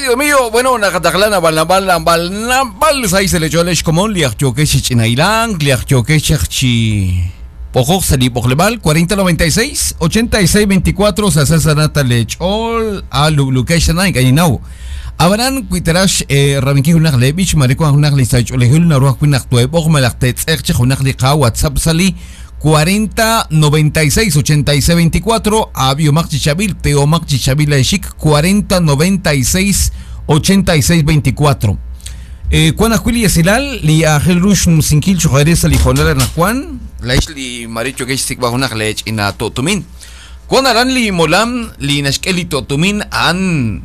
Querido mío, bueno, nakataklan bal bal bal bal sai se le echó al comón li achioke chinailan, li achioke chi Ojo, sali Bojlebal 4096 8624 Sasa Lechol a Lublukesh Naik Abaran kuiterash rabinki hunaq lebich mariko hunaq lisacholejul naruaj kunaq tueboj malaq tetz'eqche hunaq liqa WhatsApp sali 4096 86 24 Abiomaq Chichabil Teomaq Chichabil Eshik 4096 86 24 Juan Ajuili Esilal li Ángel Rush Musinkil Chujaresa li Jonel Juan la li Maricho Gesh Sikba hunaq lech ina totumin Juan Aran li Molam li Nashkeli totumin an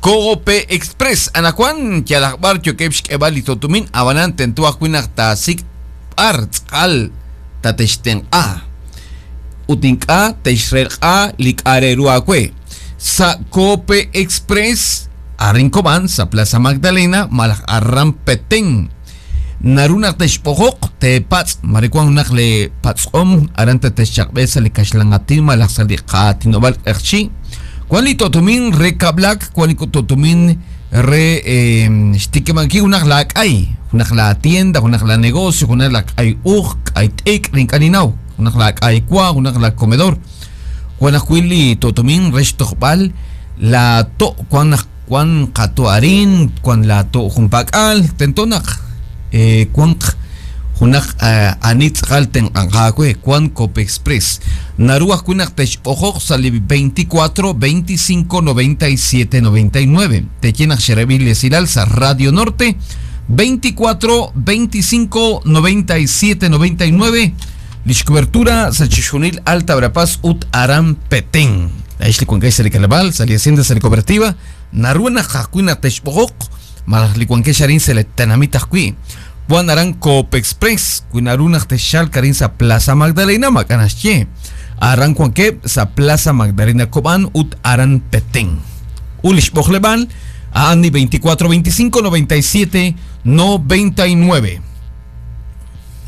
Cope Express anakuan kialakbar chokep xk'ebal li totumin abanan tento ajwi' tasik ar tz'al tatextenq'a utink'a texrelq'a lik'areru akwe sa Cope Express Arrincoban sa Plaza Magdalena malaj arran Petén naruna texpojoq te patz marikuan unaq le patz'om aran tetexchaqb'e sa li kaxlangatin malaj sa li qatinob'al q'eqchi Juan li totumin re kablak, Juan li totumin re xtikimanki unaq la k'ay, unaq la tienda, unaq la negocio, unaq la k'ay uj, k'ay t'ik, rinkaninaw, unaq la k'ay kwa, unaq la comedor. Juan ajwi' li totumin re xtojb'al la to, Juan Juan qatoarin, Juan la to junpak'al, tentonaq, Juan junaq anitz'al tenqanqaakwe Juan Cope Express naruaj kunaq texojoq sali 24 25 97 99 teyenaq xerebil esilal sa Radio Norte 24 25 97 99 lix cobertura sa chixjunil Alta Verapaz ut Aram Petén Aixli kuankay sa likalabal sa li hacienda sa li cooperativa naruana jajkuina texbojoq malaj li kuankay xarin sa le tenamit ajwi' Juan Aran Cope Express, Cuinaruna Texal Karin sa Plaza Magdalena Macanasche. Aran Cuanque sa Plaza Magdalena Cobán ut Aran Petén. Ulish Bojleban, Andy 24 25 97 99.